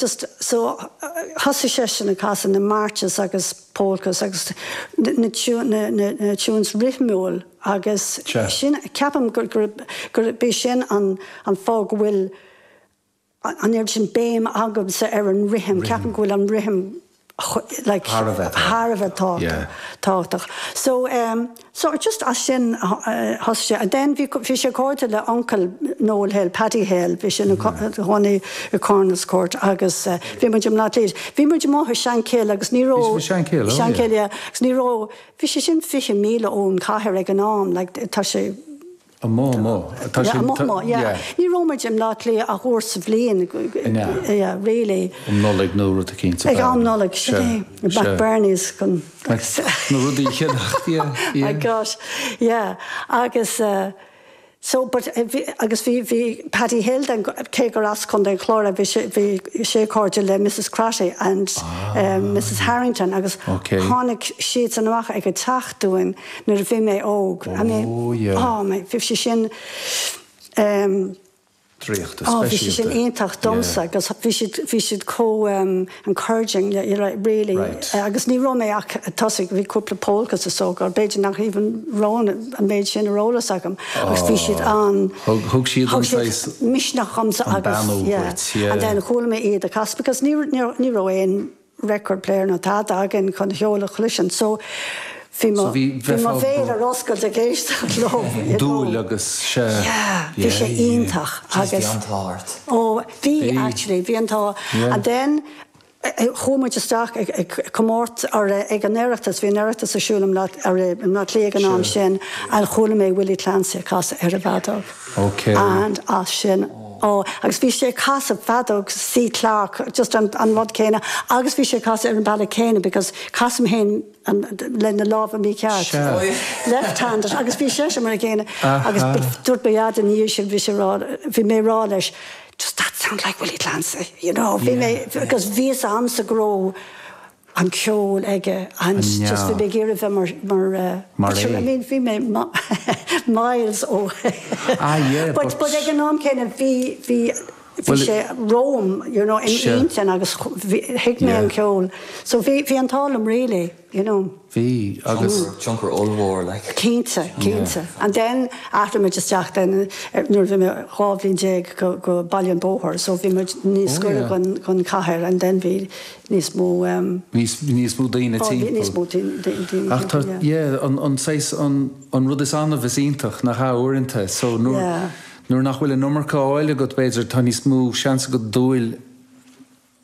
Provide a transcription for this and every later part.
Just so thosaigh seisean ag casadh na marches agus polkas agus na na tunes rithmiúil agus sin ceapaim gur gurb é sin an an fáth go bhfuil an oiread sin béim agamsa ar an rithim, ceapaim go bhfuil an rithim like Thar a bheith thar a bheith tábhachtach. So um so just as sin thosaigh sé. And then bhí bhí sé cairde le uncail Noel Hill, Paddy Hill, bhí sé ina chónaí i Cornelscourt agus bhí muid i mBleá Cliath. Bhí muid amuigh i Shankill agus ní raibh Bhí sibh i Shankill, oh yeah. Shankill, yeah. Agus ní raibh, bhí sé sin 20 míle ón chathair ag an am, like tá sé, Amuigh, amuigh. Tá sé, amuigh, amuigh, yeah. Ní raibh muid i mBleá Cliath ach uair sa bhliain, yeah, really. Um Nollaig nó rud eicínt. Ag am Nollag, sin é. McBirney's chun. Na rudaí a cheannacht, yeah, yeah. My gosh, yeah. Agus so, but agus bhí, bhí Paddy Hill then, cé gur as Contae an Chláir é, bhí sé, bhí sé cairde le Mrs Crotty and Mrs Harrington agus tháinig siadsan amach ag an teach dúinn. Nuair a bhí mé óg. I mean, Oh yeah. oh my, bhí sé sin ehm. Draíochta, Oh, bhí sé sin speisialta. iontach domsa Yeah. agus bhí siad, bhí siad chomh ehm encouraging, you know, really. Right. Agus ní raibh mé ach ag tosú, bhí cúpla polkas is dócha, b'fhéidir nach even raibh an méid sin ar eolas agam agus bhí siad Oh. an, Thug, thug siad thug an siad saghas, misneach dhomsa an agus, beannú yeah. dhuit, yeah. And then chuala mé iad ag casadh because ní, ní, ní raibh aon, record player nó tada againn chun ceol a chloisint so bhí mo So bhí, bhí mo bheifeá bhéal ar oscailt ag éisteacht leo you know. Dúil agus sea. Yeah, bhí Yeah, sé yeah. iontach Jeez, bhí agus an t-ádh ort. oh bhí Bhí. actually bhí an t-ádh Yeah. and then chuaigh muid isteach ag ag comórt ar ag an Oireachtas, bhí an Oireachtas ar siúl i mBleá ar i mBleá Cliath ag an am Sure. sin and chuala mé Willie Clancy ag casadh ar an bhfeadóg. Okay. And as sin oh agus bhí sé ag casadh feadóg C Clarke just an an rud céanna agus bhí sé ag casadh ar an bealach céanna because casaim féin an le na lámha mícheart. Sea. Left handed agus bhí seisean mar an gcéanna agus Aha. dúirt mo dhaid ina dhiaidh sin bhí sé rá bhí mé ag rá leis does that sound like Willie Clancy you know bhí mé Yeah. because bhí fhios a'msa go raibh an ceol aige and just bhí mé ag iarraidh bheith mar mar Mar but sure é. I mean bhí mé miles ó Ah yeah but but but ag an am céanna bhí bhí bhí Well sé romham you know in Sea. intinn agus bhí thuig mé Yeah. an ceol so bhí bhí an t-ádh liom really you know. Bhí agus. Tionchar ollmhór like. Cinnte, cinnte. And then d'athraigh muid isteach then nuair a bhí mé 12 bhliain go go Baile an Bhóthair so bhí muid níos Oh gaire yeah. gon gon chathair and then bhí níos mó um Níos níos mó daoine oh bhí níos timpeall. mó daoine Ach tá timpeall yeah. yeah an an saghas an an rud is annamh is iontach nach ea uaireanta so nuair Yeah. nuair nach bhfuil an iomarca á fháil agat b'fhéidir tá níos mó seans agat dúil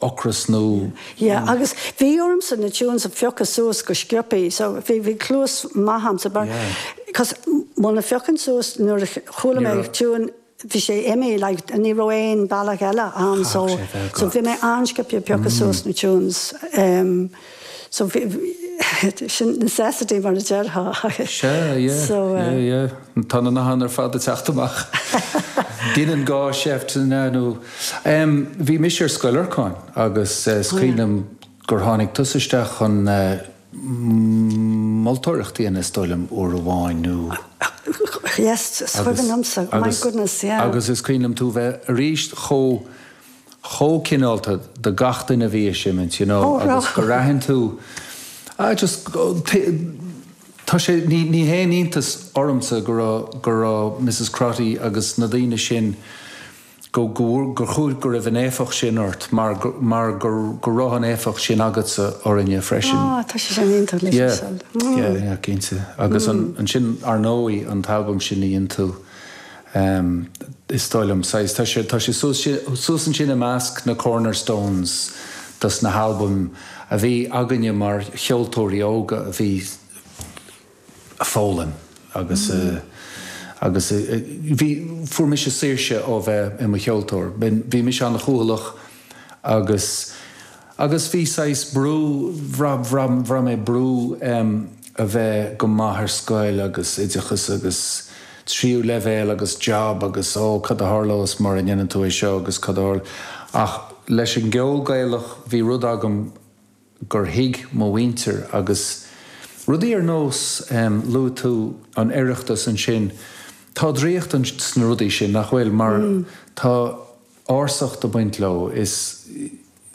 ocras nó. Yeah agus bhí ormsa na tunes a phiocadh suas go sciobthaí so bhí bhí cluas maith a'msa mar Yeah. cos muna phiocainn suas nuair a chuala Ní mé raibh. tune bhí sé imithe like ní raibh aon bealach eile ann so Chaithfeadh sé bheith so agat. bhí mé an-sciobtha ag piocadh suas na tunes um so bhí sin necessity mar a déarfá. Sea yeah So yeah uh. yeah. Tá na nathanna ar fad ag teacht amach. Deineann gá seift nó. Bhí mise ar Scoil Lorcáin agus is cuimhin liom gur tháinig tusa isteach chun moltóireacht a dhéanamh is dóigh liom uair amháin nó. Yes, is cuimhin liomsa. My goodness, yeah. Agus is cuimhin liom tú bheith arís chomh chomh cineálta do gach duine a bhí ag seimint, you know, agus gur aithin tú, ah just, tá sé, ní, ní haon iontas ormsa go raibh, go raibh Mrs Crotty agus na daoine sin, go, go, gur chuaigh, go raibh an éifeacht sin ort mar, mar go, go raibh an éifeacht sin agatsa orainne freisin. Ah, tá sé sin iontach le Yeah, cloisteáil. yeah, yeah, cinnte. Agus an, ansin, ar ndóigh, an t-albam sin a dhein tú. Is dóigh liom, saghas, tá sé, tá sé suas, suas ansin i measc na cornerstones dos na halbaim a bhí againne mar cheoltóirí óga a bhí a' foghlaim agus a, agus a, bhí, fuair mise saoirse ó bheith i mo cheoltóir. Bhí mise an-chúthaileach agus, agus bhí saghas brú, bhraith, bhraith, bhraith mé brú a bheith go maith ar scoil agus oideachas agus tríú leibhéal agus job agus ó cad a tharlós mura ndéanann tú é seo agus cad a tharl. Ach leis an gceol Gaelach bhí rud agam gur thuig mo mhuintir agus rudaí ar nós, luaigh tú an Oireachtas ansin, tá draíocht sna rudaí sin, nach bhfuil, mar tá ársacht ag baint leo, is.